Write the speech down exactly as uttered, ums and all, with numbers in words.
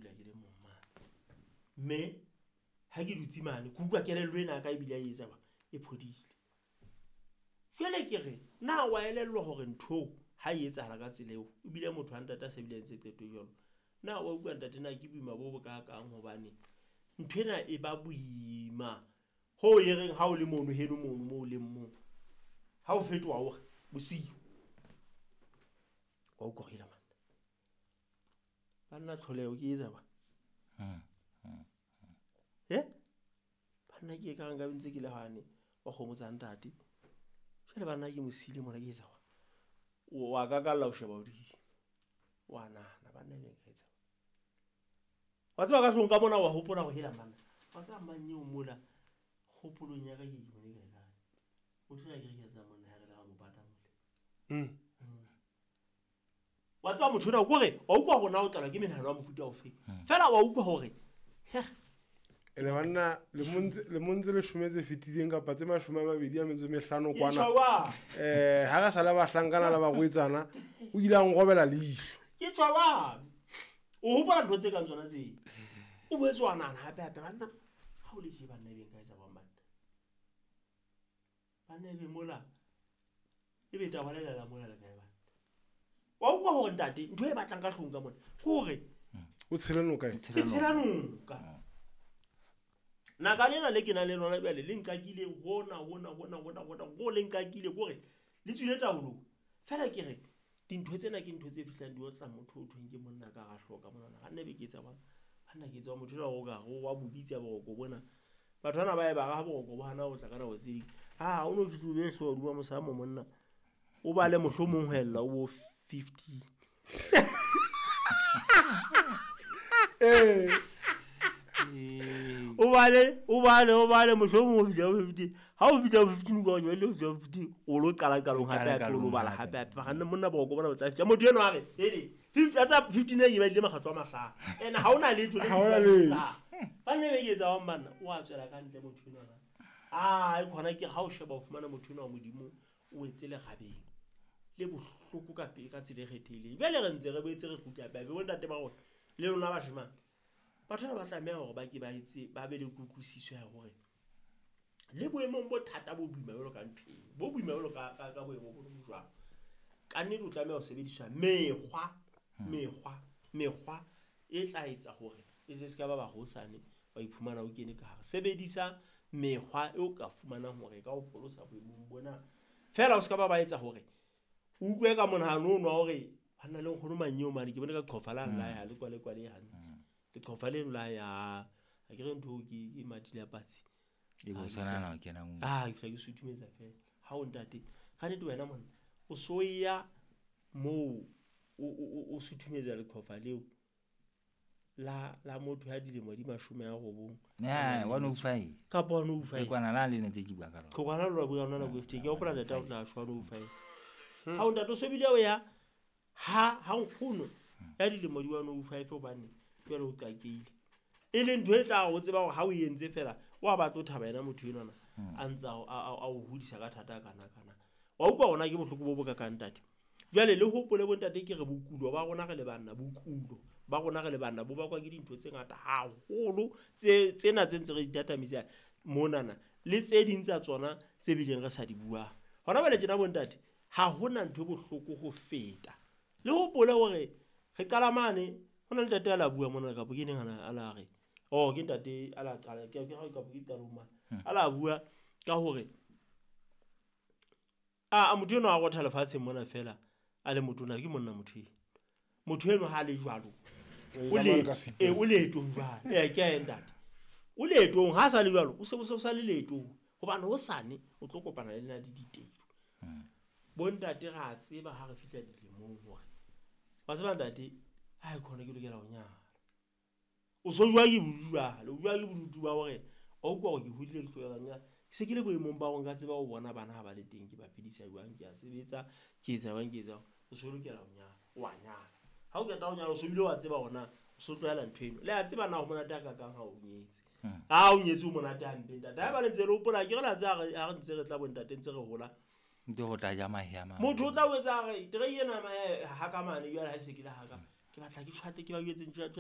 dula ke le mong mane. Mme ha ke dutse mane ke utlwa kelello ena ya ka ebile a etsa ba e phodile. Jwale ke re na wa elellwa hore ntho ha e etsahala ka tsela eo ebile motho ha ntate a se bile a entse qeto e jwalo. Na wa utlwa ntate na ke boima bo bo kakang hobane nthwena e ba boima ho e reng ha o le mono heno mono moo o leng mong. Ha o fetoha o re bosiu. Wa utlwa hore man. Banna tlholeho ke etsa ba. Hmm. Hmm. Eh? Banna ke ka nka ntse ke le hane wa kgomo tsa ntate. Jwale banna ke mosile mona ke etsa ba. Wa ka ka la o sheba hodimo. Wa nahana banna e ka etsa. Wa tseba ka hlong ka mona wa hopola ho hela manna. Wa tseba mang eo mola kgopolong ya ka ke ke bone kae kae. Motho ya ke re ke tsa monna ha re le ga mo pata mole. Mm. Wa tseba motho ona o re wa utlwa hore na o tlala ke menahano ya mofuta ofe. Fela wa utlwa hore Ene banna le montse le montse le shome tse fetileng kapa tse mashome a mabedi a metso e mehlano kwana. Eh ha re sala bahlankana le barwetsana o ile a nrobela leihlo. Ke tjwa. O hopola ntho tse kang tsona tse. O boetse wa nahana hape hape banna ha o le tje banna e beng ka etsa bang banna. Banna e be mola e be taba le la mola le kae banna. Wa utlwa hore ntate ntho e batlang ka hlong ka mona ke hore o tshela noka e. Ke tshela noka. Naka lena le ke nang le lona jwale le nkakile hona hona hona hona hona go le nkakile kore le tswile taolong. Fela ke re dintho tsena ke ntho tse fihlang di otla motho o thweng ke monna ka ga hloka mona ga nne be ke etsa bana. Banna ke etsa motho o ka go wa bobitsa boroko bona. Batho bana ba e ba ga boroko bo hana ho tla ka nako tse ding. Ah o no fihlile hlo duma mosamo monna. O bale mohlomong ho ella o bo fifty. Eh o bale o bale o bale mohlomong o fihla fifty. Ha o fihla fifty o ka jwale o fihla fifty o lo qala qalong hape hape o lo bala hape hape. Ga nne monna boroko bona bo tla fihla. Motho eno a re hele fifty tsa fifty ne ke ba ile makgatlo a mahlano. Ene ha ona letho le Ha ona letho. Ba nne be ke etsa wa banna o a tswela ka ntle motho eno. Ah e khona ke ha o sheba o fumana motho eno wa Modimo o etse le gabeng. Le bohloko ka pele ka tsela e kgethehileng. Jwale re ntse re boetse re kgutla hape bo ntate ba rona le lona bashemane. Batho ba tlameha hore ba ke ba etse ba be le kutlwisiso ya hore le boemong bo thata bo boima jwalo ka ntho eo, bo boima jwalo ka ka ka boemo bo jwalo. Ka nnete o tlameha ho sebedisa mekgwa, mekgwa, mekgwa e tla etsa hore e se ka ba ba hosane wa iphumana o kene ka hare. Sebedisa mekgwa eo ka fumanang hore e ka o pholosa boemong bona. Fela o se ka ba ba etsa hore o utlwe ka monahano ono wa hore banna le nkgono manyeo mane ke bone ka qhofa la la ya le kwale kwale hantle. Le qhofa leno la ya ha ke re ntho ke ke matile ya patsi. E bo sona na o kena mo. Ah ke fihla ke sutumetsa fela. Ha o ntate ka nnete wena monna o so ya moo o o o sutumetsa leqhofa leo la la motho ya dilemo di mashome a robong. Ya one oh five. Kapa one oh five. Ke kwana la le ne tse ke bua ka lona. Ke kwana lona bua lona nako e fetile. Ke hopola ntate o tla shwa one oh five. Ha o ntate o sobile o ya ha ha nkgono ya dilemo di one oh five hobane jwale o qakeile. E leng ntho e tla o tseba hore ha o entse fela wa batla o thaba yena motho enwana a ntsa a o hodisa ka thata kana kana. Wa utlwa hona ke bohloko bo bo ka kang ntate. Jwale le hopole bo ntate ke re bokulo ba rona re le banna bokulo ba rona re le banna bo bakwa ke dintho tse ngata haholo tse tsena tse ntse re di tatamisa monana le tse ding tsa tsona tse bileng re sa di buang. Hona jwale tjena bo ntate ha hona ntho e bohloko ho feta. Le hopole hore re qala mane hona le ntate a la bua mona kapo ke neng ana a la re oh ke ntate a la qala ke ke kapo ke qalong mane a la bua ka hore a motho eno a rotha lefatsheng mona fela a le motona ke monna motho eno. Motho eno ha le jwalo o le e o leetong jwale eh ke a ntate o leetong ha sa le jwalo o se o sa le leetong hobane ho sane o tlo kopana le nna di ditelo. Bo ntate ra tseba ha re fihla dilemong hore wa tseba ntate ha e khona ke lokela ho nyala. O so jwa ke bodutu le jwa ke bodutu ba hore o utlwa hore ke hodile ke tlohela nyala. Ke se ke le boemong ba hore nka tseba ho bona bana ha ba le teng ke ba phedisa jwang ke a sebetsa ke etsa jwang ke etsa o so lokela ho nyala wa nyala. Ha o qeta ho nyala o so bile wa tseba hore na o so tlohela ntho eno. Le a tseba na ho monate ha kakang ha o nyetse. Ha o nyetse o monate hampe ntate. Ha ba le ntse le hopola ke re la tseba ha re ntse re tla bo ntate ntse re hola. Ntho ho tla ja mahe a mang. Motho o tla o etsa re terei ena mahe ha ka mane jwale ha se ke le ha ka. Ke batla ke tjhwatle ke ba jwetse